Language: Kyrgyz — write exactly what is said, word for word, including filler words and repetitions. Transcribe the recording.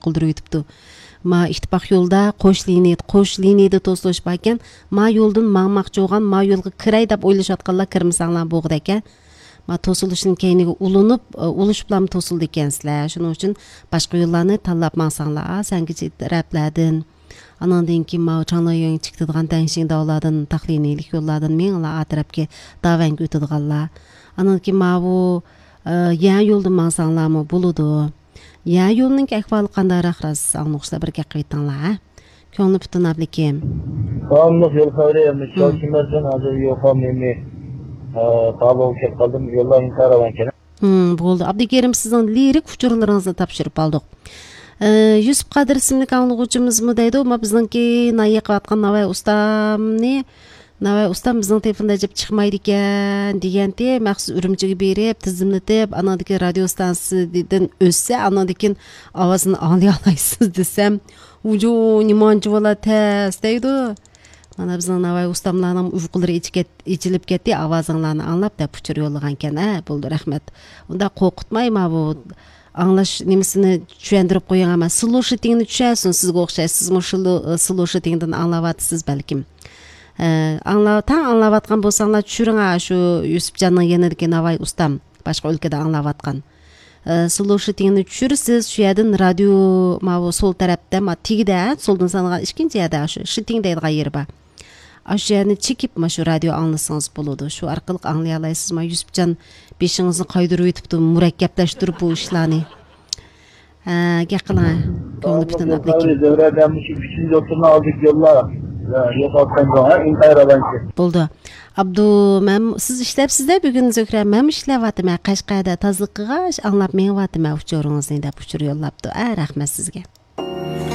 кылдырып өтүптү. Ма иттифак жолда кош линия, кош линияда тосулушпа экен. Ма жолдун маңмакчы болгон, ма жолго кирай деп ойлошуп атканлар кирмесаңлар болгут экен. Ма тосулуштун кейиниге улунуп, улушуплам тосулду экенсиздер. Шуның үчүн башка жолларны таллап маңсаңлар, сәңги рәпләрдин. Анан кийин ма чаңлайың чиктидган таңшиң даулардан, тахлинилик жоллардан меңла атрапке даванг өтүдганлар. Анан кийин ма бу ян жолдун маңсаңлармы болуду. Я yolunun ahvali qandayraq ras аңнукса бир кеп айтыңлар. Көңүл бүтүн аблекем. Аңнук жол кайрымы чочумардан азыр йокам эми табылып кеп калдым, жолларын карабан экен. Хм, болду. Абдикерим сиздин лирик учурларыңызды тапшырып алдык. Юсуп Кадыр исимли аңлыгуучумузму дейди, ма биздинки наек аткан Навай устамны Навай устам биздин телефонда жеп чыкмайды экен дегенде махсус үрүмчүгө берип, тизимлетип, анадагы радио станциядан өссө, анадагы авазын аңлай аласыз десем, ужу неманчы бола тез дейди. Мана биздин Навай устамларнын уйкулары ичилип кетти, авазыңларны аңлап деп учур жоллаган экен. А, болду, рахмет. Унда коркутмайма бу аңлаш немесini түшөндүрүп коюң, ама слушатыңды түшөнсүн, сизге окшойсуз, мушул слушатыңдан аңлап атсыз балким. Аңлап, таң аңлап аткан болсаңлар түшүрүң ашу Юсупжандын янадагы Навай устам башка өлкөдө аңлап аткан. Слушатыңды түшүрсүз, шу жерден радио мабу сол тарапта, ма тигиде, солдун санаган экинчи жерде ашу шитиң дейдиган жер бар. Ашу жерни чекип, машу радио аңласаңыз болоду. Шу аркылуу аңлай аласыз, ма Юсупжан бешиңизди кайдырып өтүптү, мураккапташтырып бу ишларны. Гек кылаң, көңүл бүтүн аблекем. Дövрədən müşü bütün yolunu aldık yollar. Болду. Абду, мен сиз иштепсизде бүгүн Зөкрө, мен иштеп атам, Кашкайда тазылык кылгач, аңлап меңип атам учуруңузду деп учур жоллапты. А, рахмат сизге.